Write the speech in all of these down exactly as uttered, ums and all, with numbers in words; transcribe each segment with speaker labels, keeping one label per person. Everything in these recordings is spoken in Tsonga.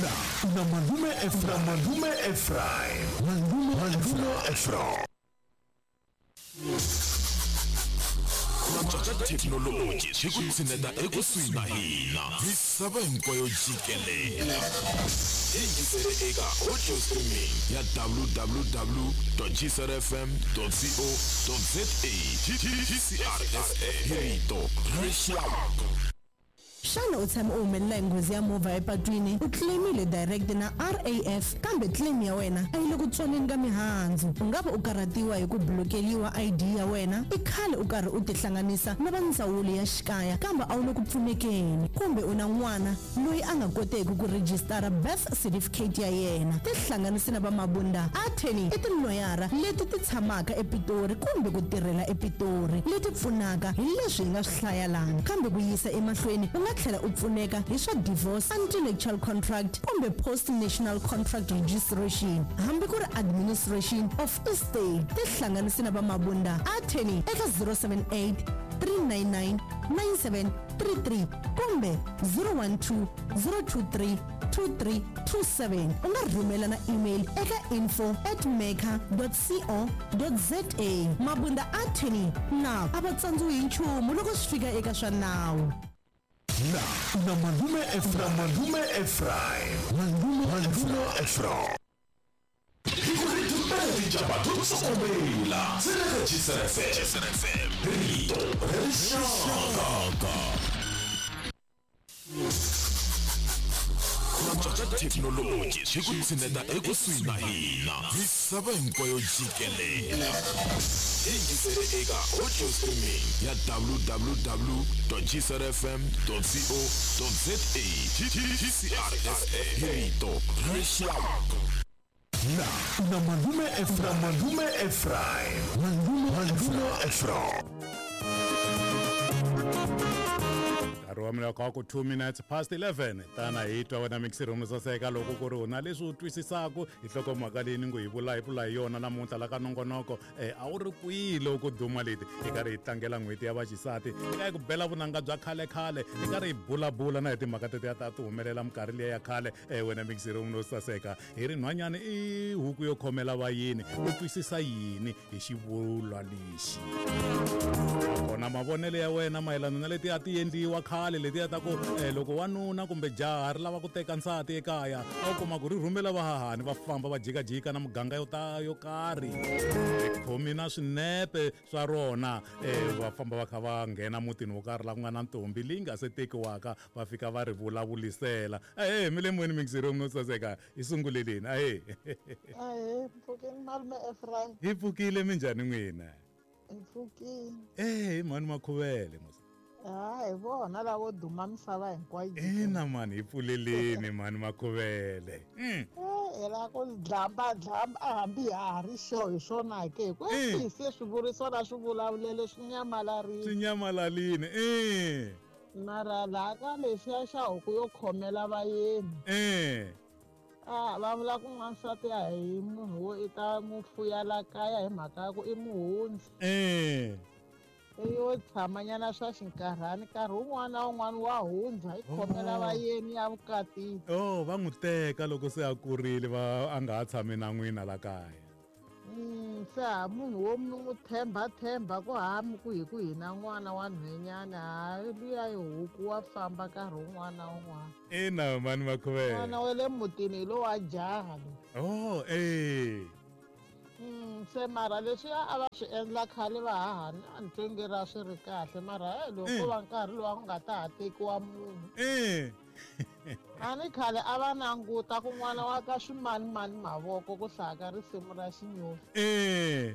Speaker 1: Na na Malume Ephraim, Malume Ephraim, Malume Ephraim. Thekinoloji swi ku tshineta ekusuhi na hina misava hinkwayo jikelele. Yingisele eka audio streaming ya w w w dot g c r f m dot co dot z a. G C R F M hi rito ra rixaka.
Speaker 2: Xana u tshame u humelela hi nghozi ya movha epatwini, u claimile direct na R A F kambe claim ya wena a yi le ku tswaleni ka mihandzu. U nga va u karhatiwa hi ku blokeliwa I D ya wena, i khale u karhi u tihlanganisa na va ndzawulo ya xikaya kambe a wu le ku pfunekeni, kumbe u na n'wana loyi a nga koteki ku rejistara birth certificate ya yena. Tihlanganisi na va Mabunda Attorney i tiloyara leti ti tshamaka ePitori kumbe ku tirhela ePitori, leti pfunaka hi leswi hi nga swi hlaya lana, kambe ku yisa emahlweni u nga tlhela u pfuneka hi swa divorce, anti-nuptial contract kumbe post-national contract registration, hambi ku ri administration of estate. Tihlanganisi na va Mabunda Attorney eka zero seven eight three nine nine nine seven three three kumbe zero one two zero two three two three two seven. U nga rhumela na email eka info at meka dot co dot za. Mabunda Attorney na a va tsandziwi hi nchumu loko swi fika eka swa nawu.
Speaker 1: Na na Malume Ephraim, Malume Ephraim, Malume Ephraim. Rito rixaka. Thekinoloji swi ku tshineta ekusuhi na hina misava hinkwayo jikelele. Yingisele eka audio streaming ya w w w dot g c r f m dot co dot z a. G C R F M hi rito ra rixaka. Na na Malume Ephraim, Malume Ephraim, Malume Ephraim.
Speaker 3: Nkarhi wa mina ka ku two minutes past eleven. Tana hi twa wena mixi room saseka loko ku ri u na leswi u twisisaka hi nhlokomhaka leyi ni ngo hi vula hi pfula hi yona namuntlha la ka nongonoko. Eh, a wu ri kwihi loko duma leti hi karhi hi tlangela n'hweti ya vaxisati, hi karhi hi ku bela vunanga bya khale khale, hi karhi hi bulabula na hi timhaka tetiya ta ti humelela minkarhi liya ya khale. Eh, wena mixi room no saseka, hi ri nhwanyana i huku yo khomela vayini, u twisisa yini hi xivulwa lexi? Kona mavonelo ya wena mayelana na leti a ti endliwa khale letiya ta ku eh, loko wanuna kumbe jaha ri lava ku teka nsati ekaya, a wu kuma ku ri rhumela vahahani va famba va jikajika na muganga yo ta yo karhi, ri khomi na swinepe swa rona, eh, va famba va kha va nghena mutini wo karhi la ku nga na ntombi leyi nga se tekiwaka, va fika va ri vulavulisela. Ahee, mi le moyeni mixi room no saseka, hi sunguleleni. Ahee.
Speaker 4: Ahee, mpfukeni Malume Ephraim.
Speaker 3: Hi pfukile, minjhani n'wina?
Speaker 4: Hi pfukile.
Speaker 3: Eh, mhani Makhuvele mos.
Speaker 4: Ha, hi vona lavo duma misava hinkwayo.
Speaker 3: Ina mani, hi pfuleleni mhani Makhuvele.
Speaker 4: Eh, hi la ku dlamba dlamba a hambi ha ha ri xo hi swona ke, ku se swivuriso na swivulavulelo swi nyamalarile.
Speaker 3: Swi nyamalarile, eh.
Speaker 4: Mara laha ka lexiya xa huku yo khomela vayeni.
Speaker 3: Eh.
Speaker 4: Ah, va vula ku n'wansati a hi munhu wo i ta n'wi fuya la kaya hi mhaka ya ku i muhundzi.
Speaker 3: Eh.
Speaker 4: Yo tshamanyana swa xinkarhani, nkarhi wun'wana na wun'wana wa hundza, i khomela vayeni ya vukatini.
Speaker 3: Oh, va n'wi teka loko se a kurile, va a nga ha tshami na n'wina la kaya.
Speaker 4: Mm, se ha munhu wo mi n'wi tshemba tshemba ku ha mi ku hi ku hina n'wana wa nhwenyana, ha luya hi huku wa famba nkarhi wun'wana na wun'wana.
Speaker 3: Ina mhani Makhuvele.
Speaker 4: N'wana wa le mutini hi lowa jaha loyi.
Speaker 3: Oh, eh.
Speaker 4: Mm, se mara leswiya a va swi endla khale vahahani a ni twi nge ra swi ri kahle, mara he loko ko va nkarhi lowu a ku nga ta ha tekiwa munhu.
Speaker 3: Eh.
Speaker 4: A ni khale a va languta ku n'wana wa ka swimanimani mavoko ku hlaya ka risimu ra xinyoxi.
Speaker 3: Eh.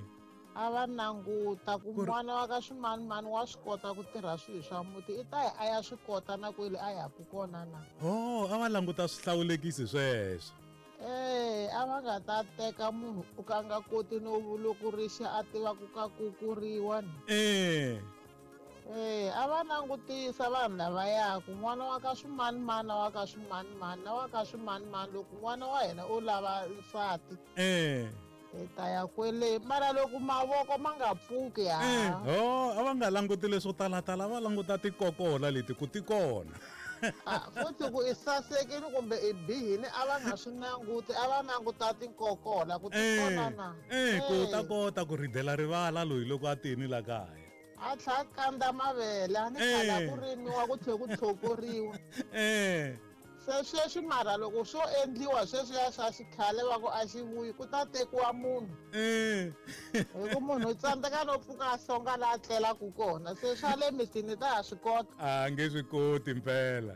Speaker 4: A va languta ku n'wana wa ka swimanimani wa swi kota ku tirha swilo swa muti, i ta yi a ya swi kota na kwele a yaku kona na.
Speaker 3: Oh, a va languta swihlawulekisi sweswo.
Speaker 4: Eh, a va nga ta teka munhu u ka nga koti no vulukurixa a tiva ku ka kukuriwa ni.
Speaker 3: Eh.
Speaker 4: Eh, a va langutisa vanhu lavaya ku n'wana wa ka swimanimani na wa ka swimanimani na wa ka swimanimani, loko n'wana wa hina u lava nsati.
Speaker 3: Eh.
Speaker 4: Hi ta ya kwele, mara loko mavoko ma nga pfuki ha.
Speaker 3: Eh, oh, a va nga languti leswo talatala, va languta tikokola leti ku ti kona.
Speaker 4: Futhi ku i sasekile kumbe i bihile a va nga swi languti, a va languta tinkokola ku tikona na.
Speaker 3: Eh, ku ta kota ku ridela rivala loyi loko a tini la kaya.
Speaker 4: A tlha kanda mavele, a ni khala ku rimiwa ku tlhe ku tlhokoriwa.
Speaker 3: Eh.
Speaker 4: Se sweswi mara loko swo endliwa sweswiya swa xikhale va ku a xi vuyi ku ta tekiwa munhu.
Speaker 3: Eh.
Speaker 4: Hi ku munhu u tsandzeka no pfuka a songa laha a tlelaka kona, se swa le mitini ta ha swi kota.
Speaker 3: A nge swi koti mpela.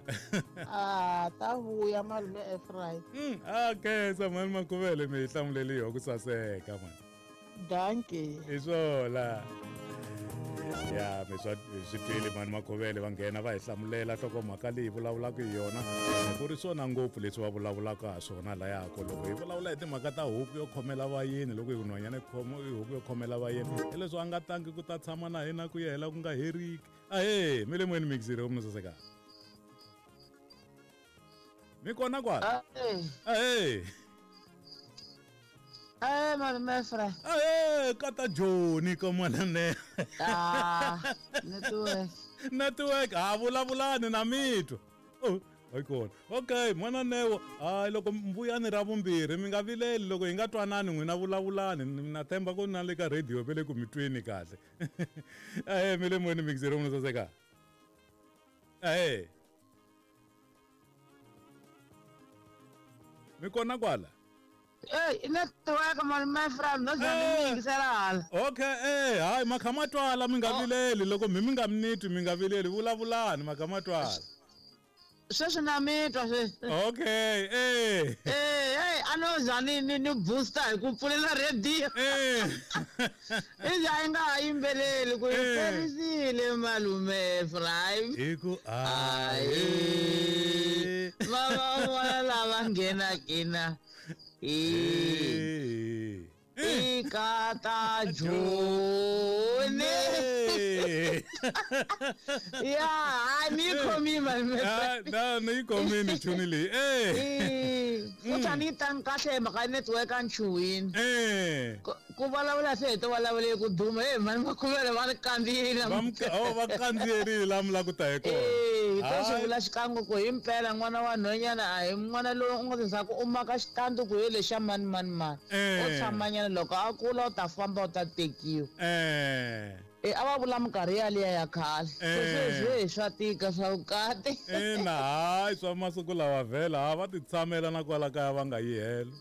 Speaker 4: A ta vuya malume Ephraim.
Speaker 3: Mm, a khensa mhani Makhuvele mi hi hlamuleli yoho ku saseka mani.
Speaker 4: Dankie.
Speaker 3: Hi swona. Ya mi swa swi twile mhani Makhuvele va nghena va hi hlamulela nhlokomhaka leyi vulavulaka hi yona ku ri swona ngopfu leswi va vulavulaka ha swona layako loko hi vulavula hi timhaka ta huku yo khomela vayeni loko hi ku nhwanyana i huku yo khomela vayeni hi leswi a nga tangi ku ta tshama na hina ku ya hela ku nga heriki. Ahee, mi le moyeni mixiri u saseka. Mi kona kwala? Ahee.
Speaker 5: Eh, malume Ephraim.
Speaker 3: Eh, kata Joni ka mwana.
Speaker 5: Ah, network.
Speaker 3: Network, a vulavulani na mitwa. Oh, hayi kona. Okay, mwana Neo, hayi loko mbuyani ra vumbirhi mi nga vileli loko hi nga twanani n'wina vulavulani na themba ku na le ka radio vele ku mi tweni kahle. Eh, mi le moyeni mixero munhu saseka. Eh. Mi kona kwala?
Speaker 5: Eh, network malume Ephraim, no zani mingisela hala.
Speaker 3: Okay, eh, hayi makha twala mi nga vileli loko mi mi nga minitwi mi nga vileli vulavulani makha twala.
Speaker 5: Sweswi na mitwa sweswi.
Speaker 3: Okay, eh.
Speaker 5: Eh, hey, a no zani ni ni booster hi ku pfulela radio.
Speaker 3: Eh.
Speaker 5: I za nga ha yimbeleli ku yi perisile malume Ephraim.
Speaker 3: Hi ku
Speaker 5: ayi. Va va lava nghena kina. E ikata Joni. Ya, hayi mi khomi malume.
Speaker 3: Na ni khomini chuni leyi. Eh.
Speaker 5: Futhi a ni tangi kahle mhaka network a ni chuhini.
Speaker 3: Eh.
Speaker 5: Ku vulavula se hi to vulavule ku duma he mhani Makhuvele va ni kandziyile.
Speaker 3: Va oh va kandziyerile laha mi lava ku ta hi kona.
Speaker 5: Eh, to swi vula xikan'we ku hi mpela n'wana wa nhwanyana a hi n'wana loyi u nga za ku u maka xitandi ku hi lexa mani mani mani. U tshamanyana loko a kula u ta famba u ta tekiwa.
Speaker 3: Eh.
Speaker 5: Eh, a va vula minkarhi yaliya ya khale. Sweswi swa tika swa vukati.
Speaker 3: Ina, hayi swa masiku lawa vhela ha va ti tshamela na kwala kaya va nga yi helo.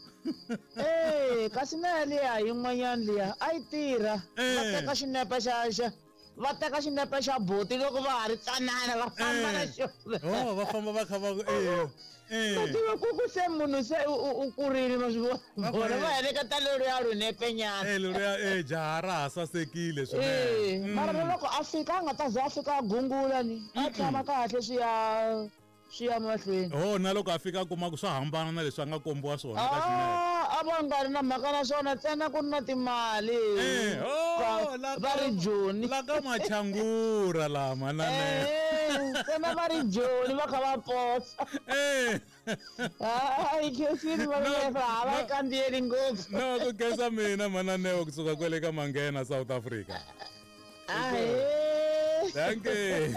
Speaker 5: Eh, kasi na yaliya yin'wanyana liya a yi tirha. Va teka xinepe xa xa va teka xinepe xa buti loko va ha ri tsanana va famba na xona.
Speaker 3: Oh, va famba va kha va eh. Eh.
Speaker 5: Ku tiva ku ku se munhu se u kurile ma swi vona. Vona va heleketa leriya rinepenyana.
Speaker 3: Eh, leriya eh jaha ra ha sasekile swinene.
Speaker 5: Eh, mara loko a fika a nga ta za a fika a gungula ni. A tshama kahle swi ya swi ya mahlweni.
Speaker 3: Oh, na loko a fika a kuma ku swa hambana na leswi a nga kombiwa swona ka xinepe.
Speaker 5: A va nga ri na mhaka na swona ntsena ku ri na timali.
Speaker 3: Eh, oh,
Speaker 5: va ri Joni.
Speaker 3: La ka Machangura lama na
Speaker 5: ne. Eh, ntsena va ri Joni va kha va posa.
Speaker 3: Eh.
Speaker 5: Hayi khensini va va va kandziyeli ngopfu.
Speaker 3: No, ku khensa mina mana Neo kusuka kwale ka Manghena South Africa.
Speaker 5: Ahee.
Speaker 3: Thank you.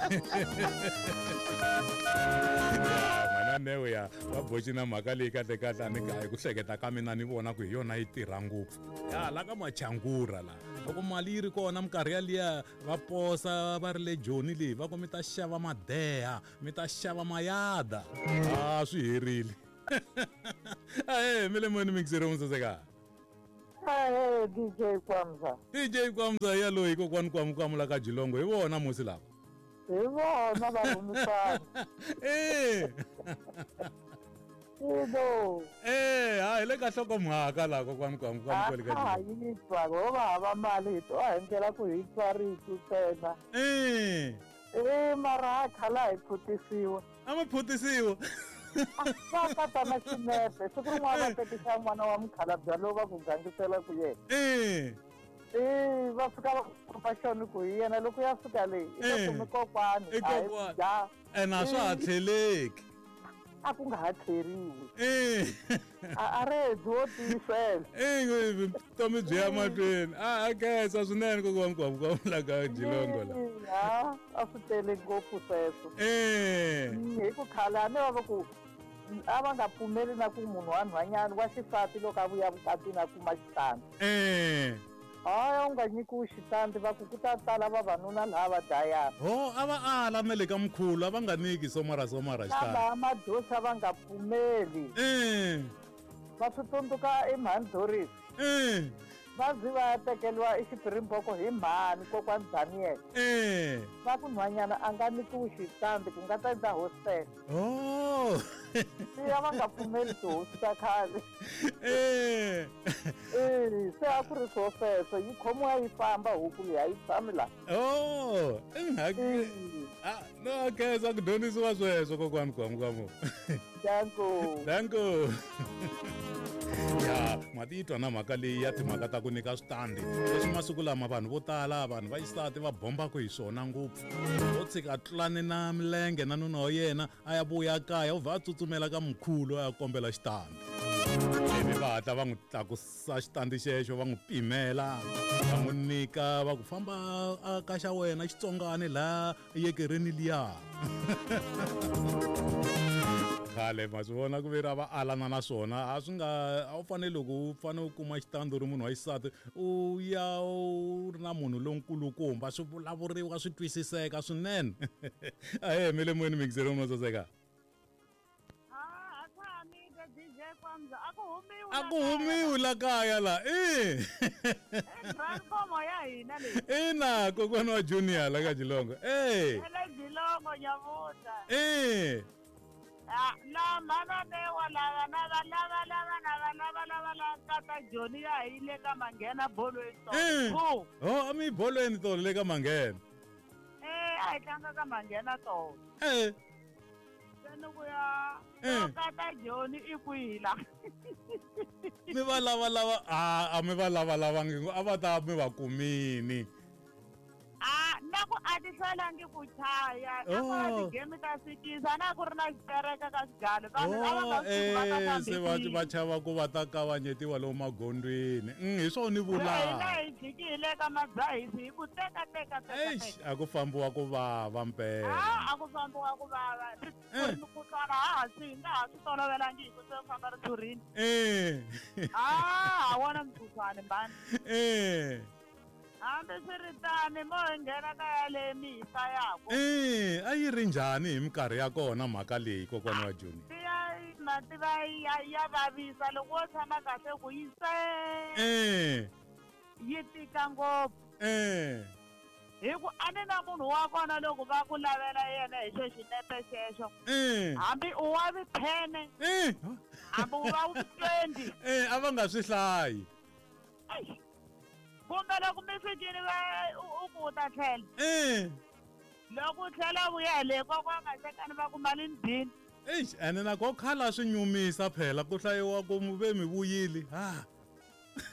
Speaker 3: Mana Neo ya va boxi na mhaka leyi kahle kahle a ni hi ku hleketa ka mina ni vona ku hi yona yi tirha ngopfu. Ya la ka Machangura la. Loko mali yi ri kona minkarhi yaliya va posa va ri le Joni leyi va ku mi ta xava madeha, mi ta xava mayada. Ah, swi herile. Ahee, mi le moyeni mixero musaseka.
Speaker 6: Ahee, D J Kwamza.
Speaker 3: D J Kwamza ya loyi kokwani Kwamu la ka Jilongo hi vona musi lava.
Speaker 6: Hi vona va rhumisana.
Speaker 3: Eh.
Speaker 6: Ilo.
Speaker 3: Eh, hayi le ka nhlokomhaka laha kokwani Kwamu kwale ka
Speaker 6: Jilongo. A hi twa ho va hava mali hi twa hi ndlela ku hi twa rito ntsena.
Speaker 3: Eh.
Speaker 6: Eh, mara a khala hi phutisiwa.
Speaker 3: A mi phutisiwa.
Speaker 6: Va kata na xinepe siku rin'wana va tekisa n'wana wa mukhalabye lowu va ku gangisela ku yena.
Speaker 3: Eh.
Speaker 6: Eh, va fika va kopa xona ku hi yena loko ya fika leyi i ta kumi kokwani.
Speaker 3: I kokwani. Ene a swa ha tlheleki.
Speaker 6: A ku nga ha tlheriwi.
Speaker 3: Eh.
Speaker 6: A a re byo tiyisela.
Speaker 3: Eh, vutomi byi ya mahlweni. A a khensa swinene kokwani Kwamu la ka Jilongo la.
Speaker 6: Ya a swi tele ngopfu sweswo.
Speaker 3: Eh.
Speaker 6: Hi ku khale a ni va ku a va nga pfumeli na ku munhu wa nhwanyana wa xisati loko a vuya vukatini a kuma xitandi.
Speaker 3: Eh.
Speaker 6: Hayi u nga nyikiwi xitandi va ku ku ta tala vavanuna laha va dlayana.
Speaker 3: Ho a va ala na le ka mkhulu a va nga nyiki somara somara xitandi.
Speaker 6: Lava madosa va nga pfumeli.
Speaker 3: Eh.
Speaker 6: Va swi tsundzuka i mhani Doris.
Speaker 3: Eh.
Speaker 6: Va zi va ya tekeriwa eXipirimboko hi mhani kokwani Daniel.
Speaker 3: Eh.
Speaker 6: Va ku nhwanyana a nga nyikiwi xitandi ku nga ta endla hostel.
Speaker 3: Oh.
Speaker 6: Se a va nga pfumeli tihosi ta khale.
Speaker 3: Eh.
Speaker 6: Eh, se a ku ri swo sweswo yi khomiwa yi famba huku leyi a yi tshami laha.
Speaker 3: Oh, inhaki. Ah, no khensa ku dyondzisiwa sweswo kokwani Gwamugamu.
Speaker 6: Danko.
Speaker 3: Danko. Ya, ma titwa na mhaka leyi ya timhaka ta ku nyika switandi. Leswi masiku lama vanhu vo tala vanhu va xisati va bombaka hi swona ngopfu. Wo tshika tlulane na milenge na nuna wa yena a ya vuya kaya u vha a tsutsumela ka mkhulu a ya kombela xitandi. Ivi va hatla va n'wi tlakusa xitandi xexo va n'wi pimela va n'wi nyika va ku famba a ka xa wena xitsongani laha yekereni liya. Khale ma swi vona ku ve ra va alana na swona a swi nga a wu fanele loko u fanele u kuma xitandi u ri munhu wa xisati u ya u ri na munhu lonkulukumba swi vulavuriwa swi twisiseka swinene. Ahee mi le moyeni mixero mo saseka. A ku humiwi la kaya la i
Speaker 7: transformo ya hina leyi.
Speaker 3: Ina kokwana wa Junior la ka Jilongo. Eh.
Speaker 7: Le Jilongo nyavuta.
Speaker 3: Eh.
Speaker 7: Ah, na mana ne wala na va lava lava na va lava lava la tata Johnny ya hi le ka manghena bolweni to.
Speaker 3: Oh, a mi bolweni to le ka manghena.
Speaker 7: Eh, a hi tlanga ka manghena to.
Speaker 3: Eh.
Speaker 7: Ya tata Johnny i kwihi la.
Speaker 3: Mi va lava lava a a mi va lava lavangi a va ta mi va kumini.
Speaker 7: A na ku a ti hlwelangi ku chaya na ku a ti-game ta sikisa na ku ri na xitereka ka xigalo vanhu a va nga swi va ta
Speaker 3: se va va chava ku va ta kavanyetiwa lomu magondweni. Mm, hi swona ni vulaka.
Speaker 7: Hina hi jikile ka madzahisi hi ku teka teka teka.
Speaker 3: Eish, a ku fambiwa ku vava mpela.
Speaker 7: A a ku fambiwa ku vava. Ku mukhuhlwana ha ha swi hi nga ha swi tolovelangi hi ku se famba rithurini.
Speaker 3: Eh.
Speaker 7: Ah, a wona mukhuhlwani mbani.
Speaker 3: Eh.
Speaker 7: Hambiswiritano mo hi nghena ka yaleyo mi hi hlayaka.
Speaker 3: Eh, a yi ri njhani hi minkarhi ya kona mhaka leyi kokwana wa Johnny?
Speaker 7: Ya mativa ya ya vavisa loko wo tshama kahle ku yi se.
Speaker 3: Eh.
Speaker 7: Yi tika ngopfu.
Speaker 3: Eh.
Speaker 7: Hi ku a ni na munhu wa kona loko va ku lavela yena hi xo xinepe xexo.
Speaker 3: Eh.
Speaker 7: Hambi u wa vi-ten.
Speaker 3: Eh.
Speaker 7: Hambi u wa vi-twenty.
Speaker 3: Eh, a va nga swi hlayi.
Speaker 7: Eish. Kumbe loko mi fikile va u ku u ta tlhela.
Speaker 3: Eh.
Speaker 7: Loko u tlhela vuya le kokwana Masekani va ku mali ni dini.
Speaker 3: Eish, ene na ko khala swi nyumisa phela ku hlayiwa ku mu ve mi vuyile. Ha.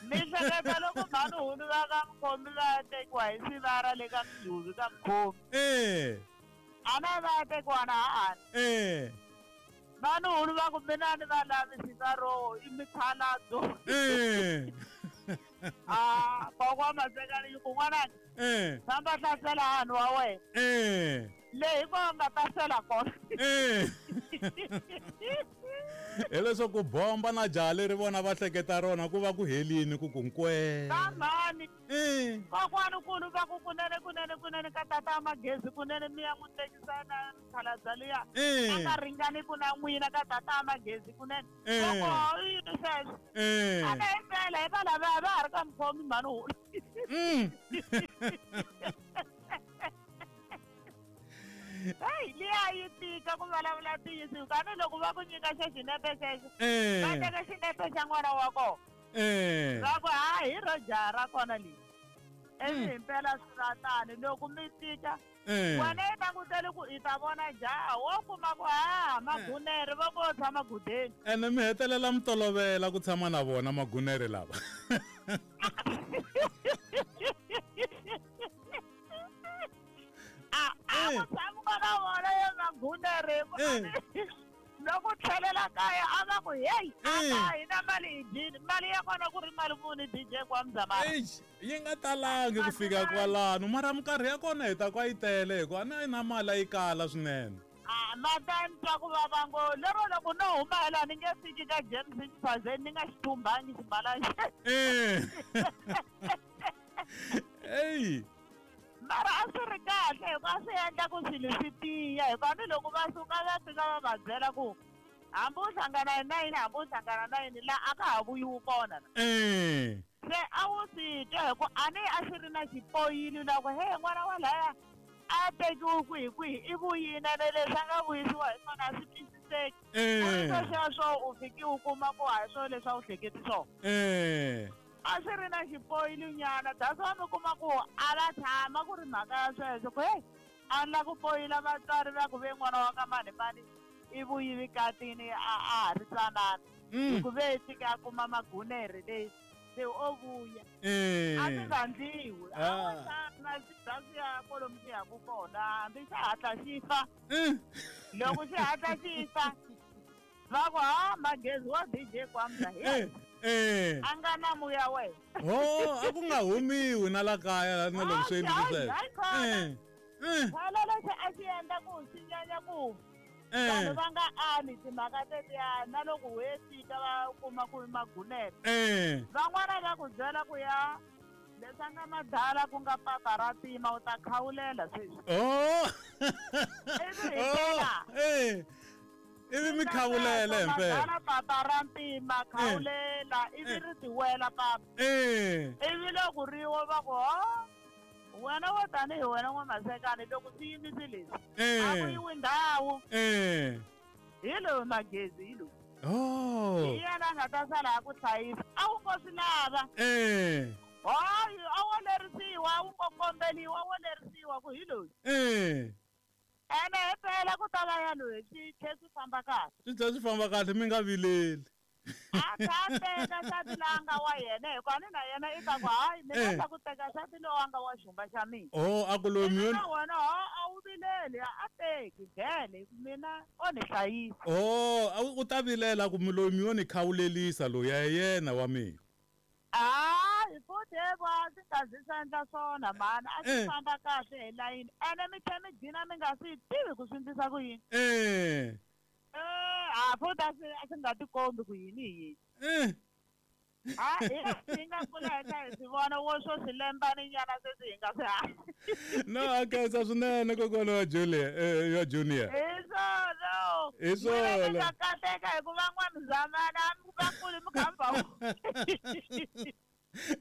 Speaker 7: Mi hleketa loko mhani hulu va ka mukhomi va tekiwa hi sivara le ka mdhuvi ka mukhomi.
Speaker 3: Eh.
Speaker 7: A na va tekiwa na hahani.
Speaker 3: Eh.
Speaker 7: Mhani hulu va ku mina ni va lavi sivaro i mikhaladzo.
Speaker 3: Eh.
Speaker 7: Ah, kokwa Masekani yi ku n'wananga.
Speaker 3: Eh.
Speaker 7: Famba hlasela hahani wa wena.
Speaker 3: Eh.
Speaker 7: Le hi kona nga ta sela kona.
Speaker 3: Eh. Hileswaku bomba na jaha leri vona va hleketa rona ku va ku helini ku ku nkwee.
Speaker 7: Ka mhani.
Speaker 3: Eh.
Speaker 7: Kokwana kulu va ku kunene kunene kunene ka tata magezi kunene mi ya n'wi tekisa na mikhalabya liya.
Speaker 3: Eh.
Speaker 7: A nga ringani ku na n'wina ka tata magezi kunene.
Speaker 3: Eh.
Speaker 7: Loko yini sweswo.
Speaker 3: Eh.
Speaker 7: A na hi mpela hi va lava va ha ri ka mukhomi mhani hulu.
Speaker 3: Mm.
Speaker 7: Hey, liya yi tika ku vulavula ntiyiso kani loko va ku nyika xo xinepe xexo.
Speaker 3: Eh.
Speaker 7: Va teka xinepe xa n'wana wa kona.
Speaker 3: Eh.
Speaker 7: Va ku ha hi ro jaha ra kona leyi. Ivi hi mpela swi va tani loko mi tika.
Speaker 3: Eh.
Speaker 7: Wena yi langutele ku i ta vona jaha wo kuma ku ha magunere va ko tshama gudeni.
Speaker 3: Ene mi hetelela mi tolovela ku tshama na vona magunere lava.
Speaker 7: A a ku tshama na vona ya magunere. Loko tlhelela kaya a va ku hey a hi na mali hi dyini mali ya kona ku ri mali muni D J Gwamzamara
Speaker 3: eish yi nga talangi ku fika kwalano mara minkarhi ya kona hi ta kwa yi tele hikuva a na yi na mali a yi kala swinene
Speaker 7: a ma ta ni twa ku vava ngo lero loko no huma hi laha ni nge fiki ka James Xiphazeni ni nga xi thumbangi ximalana
Speaker 3: eh ey
Speaker 7: mara a swi ri kahle hikuva a swi endla ku swilo swi tiya hikuva ni loko va suka va fika va va byela ku hambi u hlangana hi nayini hambi u hlangana na yini laha a ka ha vuyiwi kona
Speaker 3: eh
Speaker 7: se a wu swi twa hi ku a ni a swi ri na xipoyili la ku he n'wana wa laya a tekiwi kwihi kwihi i vuyini ene leswi a nga vuyisiwa hi swona a swi twisiseki
Speaker 3: eh
Speaker 7: sweswo u fiki u kuma ku a hi swona leswi a wu hleketi swona
Speaker 3: eh
Speaker 7: a swi ri na xipoyili nyana that's why mi kuma ku a va tshama ku ri mhaka ya sweswo ku hey a ni la ku poyila vatswari va ku ve n'wana wa ka mani mani i vuyivi katini a a ha ri tsanana
Speaker 3: mm
Speaker 7: ku ve fika a kuma magunere leyi se o vuya
Speaker 3: eh
Speaker 7: a swi nga ndliwi a
Speaker 3: Ah.
Speaker 7: wo tshama swi bya swi ya kwalomu swi yaku kona hambi xi hatla xi fa
Speaker 3: eh
Speaker 7: loko xi hatla xi fa va ku ha magezi wa D J Gwamza hi
Speaker 3: eh eh
Speaker 7: a nga na muya wena
Speaker 3: ho a ku nga humiwi na la kaya na loko swi endlile sweswo
Speaker 7: hayi khona
Speaker 3: eh eh
Speaker 7: phela lexi a xi endla ku swi nyanya ku vanhu
Speaker 3: eh
Speaker 7: va nga ali timhaka tetiya na loko we fika va kuma ku i magunere
Speaker 3: eh
Speaker 7: van'wana va ku byela ku ya leswi a nga madala ku nga papa ra tima u ta khawulela sweswi
Speaker 3: oh
Speaker 7: ivi hi
Speaker 3: oh
Speaker 7: tlhela
Speaker 3: eh ivi mi khawulela himpela
Speaker 7: madala papa ra ntima khawulela ivi ri tiwela papa
Speaker 3: eh
Speaker 7: ivi loko riwa va ku ho wena wo tanihi wena n'wamasekani loko swi yimise leswi a ku
Speaker 3: eh
Speaker 7: yiwi ndhawu
Speaker 3: eh
Speaker 7: hi lowu magezi hi lowu
Speaker 3: oh
Speaker 7: hi yena a nga ta sala a ku hlayisa a wu ngo swi lava
Speaker 3: eh
Speaker 7: hayi a wo lerisiwa a wu ngo kombeliwa a wo lerisiwa ku hi loyi
Speaker 3: eh
Speaker 7: ene hi mpela ku ta va ya loyi swi tlhe swi famba kahle
Speaker 3: swi tlhela swi famba kahle mi nga vileli
Speaker 7: a kha a teka nsati loyi a nga wa yena hikuva ni na yena i ta ku hayi mina
Speaker 3: Eh.
Speaker 7: ta ku teka nsati loyi a nga wa xumba xa mina
Speaker 3: oh a ku loyi
Speaker 7: Ivi
Speaker 3: mi
Speaker 7: na wena ho a wu vileli a teki vhele mina o ni hlayisa
Speaker 3: oh a u ta vilela ku mi loyi mi yo ni khawulelisa loyi a hi yena wa mina
Speaker 7: hayi futhi hevo a swi nga zi swi endla swona mhani a swi
Speaker 3: Eh.
Speaker 7: famba kahle hi layini ene mi tlhe mi gcina mi nga swi tivi ku swi endlisa ku yini
Speaker 3: eh
Speaker 7: Eh, a futhi a swi a swi nga tikombi ku yini hi yini
Speaker 3: eh
Speaker 7: ha hi hi nga kula hi kha hi swi vona wo swo swi lembani nyana sweswi hi nga swi hanyi
Speaker 3: no a khensa swinene kokwana wa Julia eh wa Junior
Speaker 7: hi swona
Speaker 3: Hi
Speaker 7: N'wina mi
Speaker 3: swona.
Speaker 7: nga kateka hikuva n'wamzamana a mi vakulu mi kha mi va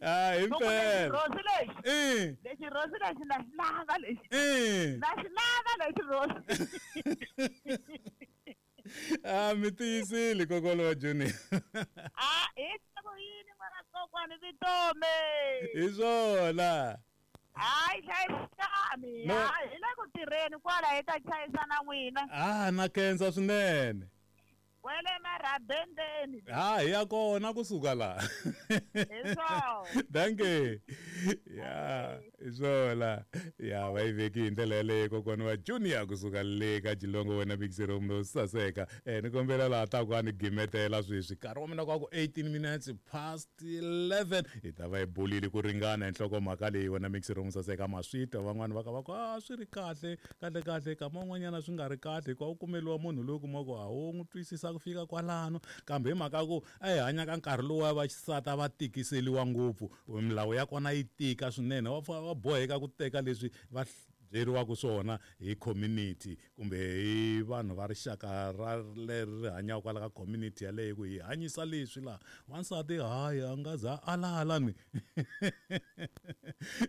Speaker 3: ah
Speaker 7: loko lexi
Speaker 3: himpela
Speaker 7: rhosi lexi
Speaker 3: eh
Speaker 7: lexi rhosi lexi na xi lava lexi
Speaker 3: eh
Speaker 7: na xi lava lexi rhosi
Speaker 3: ah mi tiyisile kokwana wa Junior
Speaker 7: a hi ku yini n'wana kokwani vutomi
Speaker 3: hi swona
Speaker 7: hayi hlayisani
Speaker 3: No.
Speaker 7: hayi hi le ku tirheni kwala hi ta chayisana n'wina
Speaker 3: ah na khensa swinene
Speaker 7: wele marhabendeni
Speaker 3: ha hi ya kona kusuka laha
Speaker 7: hi swona
Speaker 3: danke ya hi swona ya va yi veki hi ndlela yaleyo kokwana wa Junior kusuka le ka Jilongo wena mixero lo saseka eh ni kombela laha ta ku a ni gimetela sweswi nkarhi wa mina kwa ku eighteen minutes past eleven hi ta va hi bulile ku ringana hi nhlokomhaka leyi wena mixero mo saseka maswitwa van'wani va ka va ku a swi ri kahle kahle kahle kama un'wanyana swi nga ri kahle hikuva u kumeliwa munhu loyi u kuma ku a wu n'wi twisisa ku fika kwalano kambe hi mhaka ku a hi hanya ka nkarhi lowu va xisati a va tikiseliwa ngopfu milawu ya kona yi tika swinene va fa- va boheka ku teka leswi va byeriwaka swona hi community kumbe hi vanhu va rixaka ra leri ri hanyaka kwala ka community yaleyo ku hi hanyisa leswi laha wansati hayi a nga za alala ni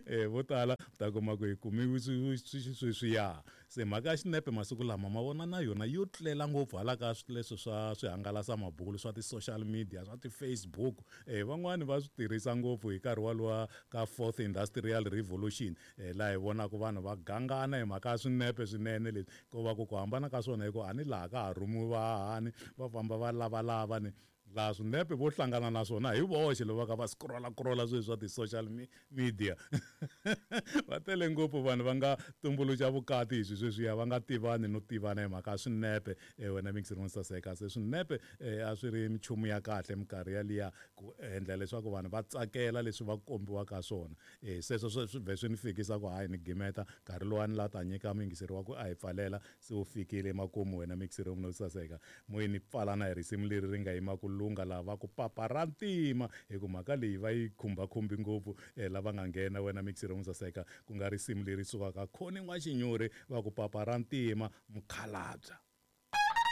Speaker 3: eh vo tala u ta kuma ku hi kumiwi sweswiya se mhaka ya xinepe masiku lama ma vona na yona yo tlela ngopfu hala ka leswi swa swihangalasamabulu swa ti-social media swa ti-Facebook eh van'wani va swi tirhisa ngopfu hi nkarhi walowa ka fourth industrial revolution eh laha hi vonaka vanhu va gangana hi mhaka ya swinepe swinene leswi ko va ku ku hambana ka swona hi ku a ni laha ka ha rhumiwi vahahani va famba va lavalava ni Laha swinepe vo hlangana na swona hi voxe loko va ka va scrolla-scrolla sweswi swa ti-social media. Va tele ngopfu vanhu va nga tumbuluxa vukati hi swi sweswiya, va nga tivani no tivana hi mhaka ya swinepe. Wena mixer wo saseka, se swinepe a swi ri minchumu ya kahle minkarhi yaliya ku endla leswaku vanhu va tsakela leswi va kombiwaka swona. Sweswo swi vhe swi ni fikisa ku hayi ni gimeta nkarhi luwani la ta nyika muyingiseri wa ku a hi pfalela se wu fikile emakumu. Wena mixer wo saseka, moyeni pfalana hi risimu leri ri nga yima ku lunga laha va ku papa ra ntima, hi ku mhaka leyi va yi khumbakhumbi ngopfu lava nga nghena. Wena mixer wo saseka, ku nga risimu leri sukaka Khoni N'waxinyori va ku papa ra ntima mukhalabya.